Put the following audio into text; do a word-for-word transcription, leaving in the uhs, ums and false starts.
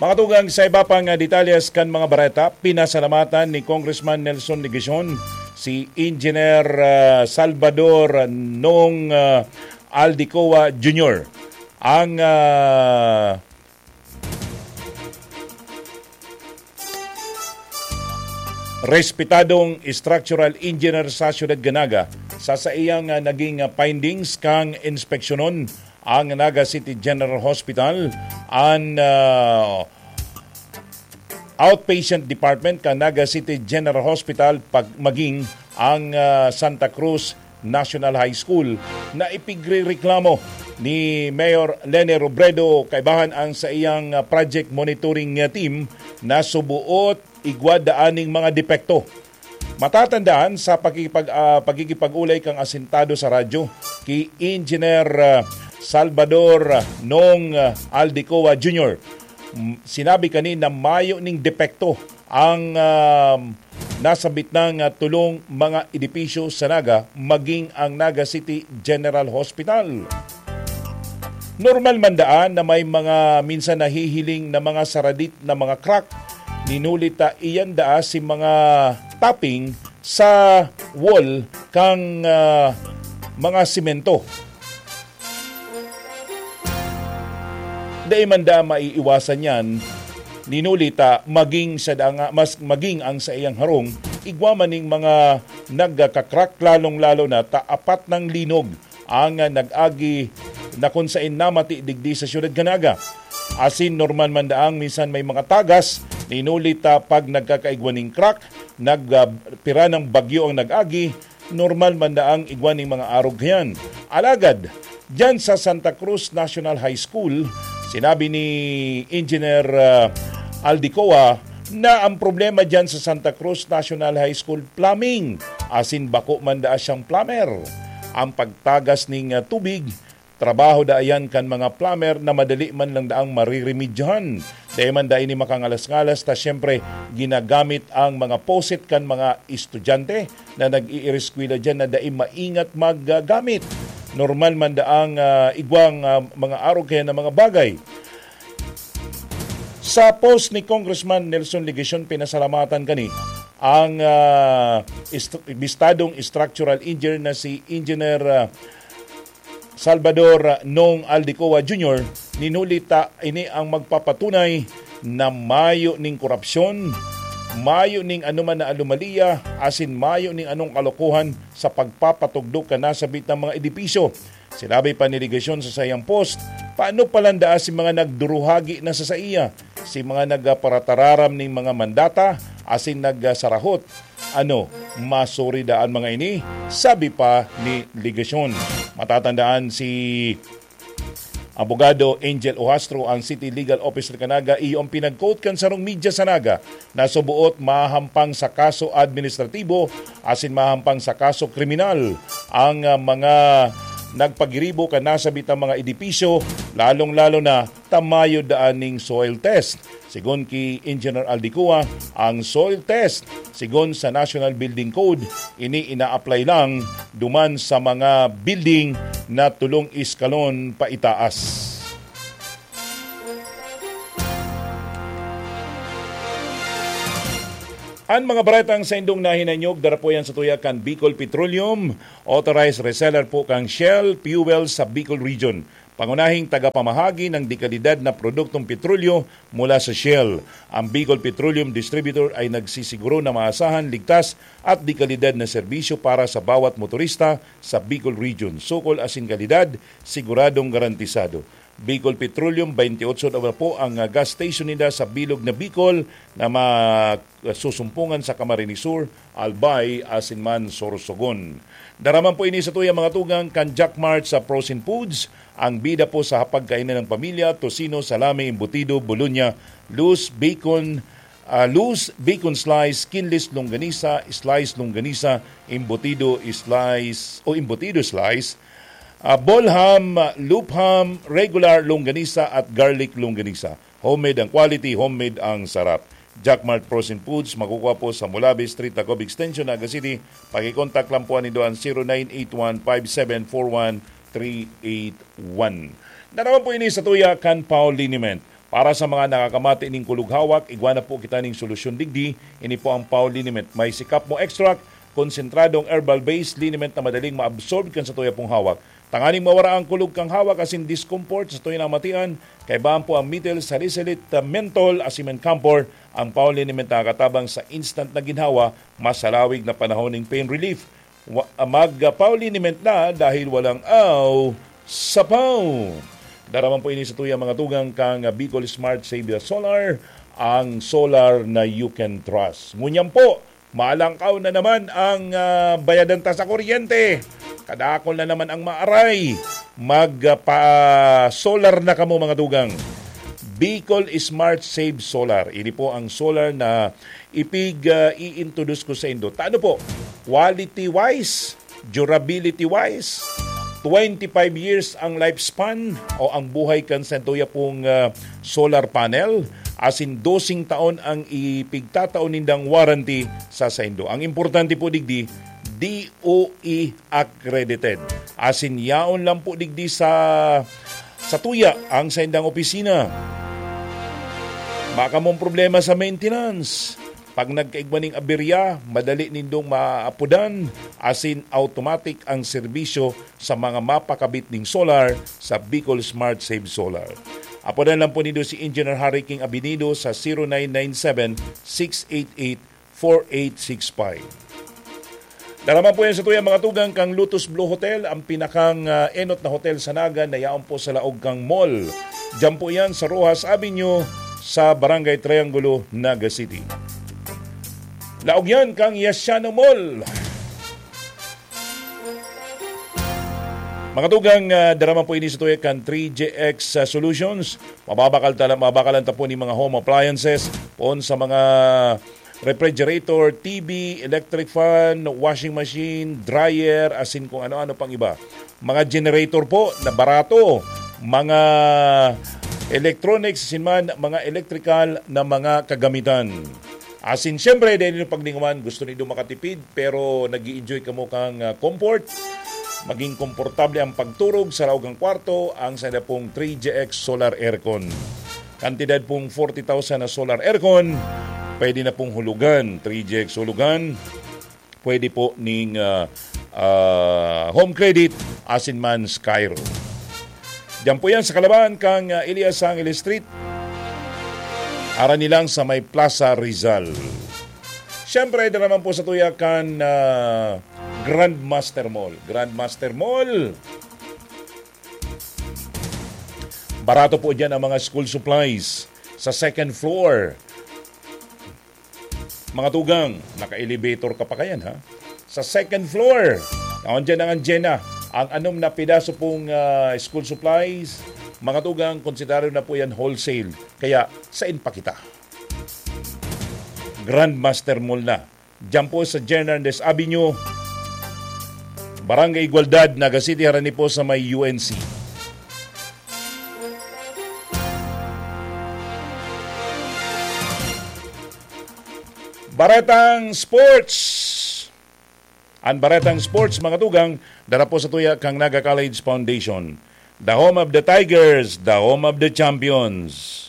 Mga tugang, sa iba pang, ah, detalyes kan mga bareta, pinasalamatan ni Congressman Nelson Legacion si Engineer, ah, Salvador Nong, ah, Aldicoa Junior, ang, ah, respetadong structural engineer sa siyudad kan Naga, sa saiyang, ah, naging, ah, findings kan inspeksyonon ang Naga City General Hospital, an, ah, outpatient department kan Naga City General Hospital, pag maging ang, ah, Santa Cruz National High School, na ipigrereklamo ni Mayor Leni Robredo kaibahan ang saiyang, ah, project monitoring, ah, team na subuot igwa daan ning mga depekto. Matatandaan sa pakikipag-, ah, pakikipag-ulay kan asintado sa radyo ki Engineer, ah, Salvador, ah, Nong, ah, Aldicoa Junior, m-, sinabi kani na mayo ning depekto ang, ah, nasabit nang, ah, tulong mga edipisyo sa Naga, maging ang Naga City General Hospital. Normal man daan na may mga minsan nahihiling na mga saradit na mga crack, ninuli ta iyan daa si mga topping sa wall kan, ah, mga semento. Dai man da maiiwasan yan, ninuli ta maging sa da nga, mas maging ang saiyang harong, igwa man ning mga nagkakakrak, lalong-lalo na ta apat nang linog ang, ah, nag-agi na kun saen namati digdi sa siyudad kan Naga. Asin normal man daang minsan may mga tagas, ninuli ta pag nagkakaigwa ning crack, nag, ah, pira ng bagyo ang nag-agi, normal man daang igwa ning mga arog kayan. Alagad, diyan sa Santa Cruz National High School, sinabi ni Engineer, ah, Aldicoa na ang problema diyan sa Santa Cruz National High School, plumbing. Asin bako man daa siyang plumber. Ang pagtagas ning, ah, tubig, trabaho daa yan kan mga plumber na madali man lang daang mariremedyohan. Dai man daa ini makangalas-ngalas ta siyempre ginagamit ang mga poset kan mga estudyante na nag-iireskwela diyan na dai maingat maggamit. Normal man daang, ah, igwang, ah, mga arog kaya na mga bagay. Sa post ni Congressman Nelson Legacion, pinasalamatan kani ang, ah, est-, bistadong structural engineer na si Engineer, ah, Salvador Nong Aldicoa Junior, ninuli ta ini ang magpapatunay na mayo ning korupsyon, mayo ning anoman na anomalya, asin mayo ning anong kalokohan sa pagpapatugdok kan nasabit na mga edipisyo. Sinabi pa ni Legacion sa saiyang post, paano pa lang daa si mga nagduruhagi na sa saiya, si mga nagparatararam ning mga mandata, asin nagsarahot? Ano, masuri daa an mga ini? Sabi pa ni Legacion. Matatandaan si Abogado Angel Ohastro, ang City Legal Officer kan Naga, iyo ang pinag-quote kan sarong media sa Naga na subuot mahahampang sa kaso administratibo asin mahahampang sa kaso kriminal ang, ah, mga nagpagiribo kan nasabitang mga edipisyo, lalong-lalo na ta mayo daa ning soil test. Sigon ki Engineer Aldicoa, ang soil test, sigon sa National Building Code, ini ina-apply lang duman sa mga building na tolong eskalon paitaas. An mga baretang saindong nahinanyog, dara po yan sa tuya kan Bicol Petroleum, authorized reseller po kang Shell Fuel sa Bicol Region. Pangunahing tagapamahagi ng dekalidad na produktong petrolyo mula sa Shell. Ang Bicol Petroleum Distributor ay nagsisiguro na maasahan, ligtas at dekalidad na serbisyo para sa bawat motorista sa Bicol Region. Sukol asin kalidad, siguradong garantisado. Bicol Petroleum, twenty-eight na po ang, ah, gas station nila sa bilog na Bicol na masusumpungan sa Camarines Sur, Albay, asin man Sorsogon. Dara man po ini sa tuya mga tugang kan Jack Mart sa Frozen Foods, ang bida po sa hapagkainan ng pamilya, tocino, salami, embutido, bolonya, loose bacon, ah, loose bacon slice, skinless longganisa, slice longganisa, embutido slice o embutido slice, ah, ball ham, loop ham, regular longganisa at garlic longganisa. Homemade ang quality, homemade ang sarap. Jack Mart Frozen Foods, makukuha po sa Mulabi Street, Tacob Extension, Naga City. Pakikontak lang po nindo ang zero nine eight one five seven four one three eight one. Dara man po ini sa tuya kan Paul Liniment. Para sa mga nakakamati ning kulog hawak, igwa na po kita ning solusyon digdi. Ini po ang Pau Liniment. May sikap mo extract, konsentradong herbal-based liniment na madaling maabsorb kan satuya pong hawak. Tanganing mawara ang kulog kang hawak asin discomfort sa satuya na matian, kaibahan po ang methyl salicylate, menthol, asin man camphor, ang Pau Liniment nakakatabang sa instant na ginhawa, masalawig na panahon ning pain relief. Wa-, mag-, ah, Pau Liniment na dahil walang aw sa Pau. Daraman po ini sa tuyang mga tugang kang, ah, Bicol Smart Save Solar, ang solar na you can trust. Ngunyan po, malangkaw na naman ang, ah, bayadan ta sa kuryente. Kadakol na naman ang maaray. Mag, ah, pa-solar na kamo, mga tugang. Bicol Smart Save Solar. Ini po ang solar na ipig, ah, i-introduce ko sa indo. Tano po, quality-wise, durability-wise, twenty-five years ang lifespan o ang buhay kan satuya pong, ah, solar panel. Asin dosing taon ang ipigtatao nindang warranty sa saindo. Ang importante po digdi, D O E accredited. Asin yaon lang po digdi sa, satuya ang saindang opisina. Baka mong problema sa maintenance. Pag nagkaigwa ning aberya, madali nindong maapodan, asin automatic ang serbisyo sa mga mapakabit ning solar sa Bicol Smart Save Solar. Apodan lang po nindo si Engineer Harry King Abinido sa zero nine nine seven, six eight eight, four eight six five. Daraman po yan sa tuyang mga tugang kang Lotus Blue Hotel, ang pinakang, ah, enot na hotel sa Naga na yaon po sa laog kang mall. Diyan po yan sa Rojas Avenue, sa Barangay Triangulo, Naga City. Laog yan kang Yasiano Mall. Mga tugang, ah, daraman po ini sa tuyang kan three G X, ah, Solutions. Mababakal tala-, mabakalan ta po ni mga home appliances, poon sa mga refrigerator, T V, electric fan, washing machine, dryer, asin kung ano-ano pang iba. Mga generator po na barato, mga electronics, asin man mga electrical na mga kagamitan. Asin, siyempre, dahil yung paglingawan, gusto nindo makatipid, pero nag enjoy kamo kang, ah, comfort. Maging komportable ang pagturog sa laog ng kwarto, ang sanda pong three G X Solar Aircon. Kantidad pong forty thousand na solar aircon, pwede na pong hulugan, three G X hulugan, pwede po ning, ah, ah, home credit, asin man Skyro. Diyan po yan sa kalaban kang, ah, Elias Angeles Street. Ara nilang sa may Plaza Rizal. Siyempre, dyan naman po sa tuya kan, ah, Grandmaster Mall. Grandmaster Mall! Barato po dyan ang mga school supplies sa second floor. Mga tugang, naka-elevator ka pa kayan, ha? Sa second floor, naon dyan ang Anjena. Ang anom na pedaso pong, ah, school supplies, mga tugang, konsiderado na po yan wholesale. Kaya, sain pa kita? Grandmaster Mall na. Diyan po sa Jernandez Avenue, Barangay Igualdad, Naga City, harani po sa may U N C. Baretang Sports. Ang Baretang Sports, mga tugang, dara po sa tuya kang Naga College Foundation. The home of the Tigers, the home of the champions.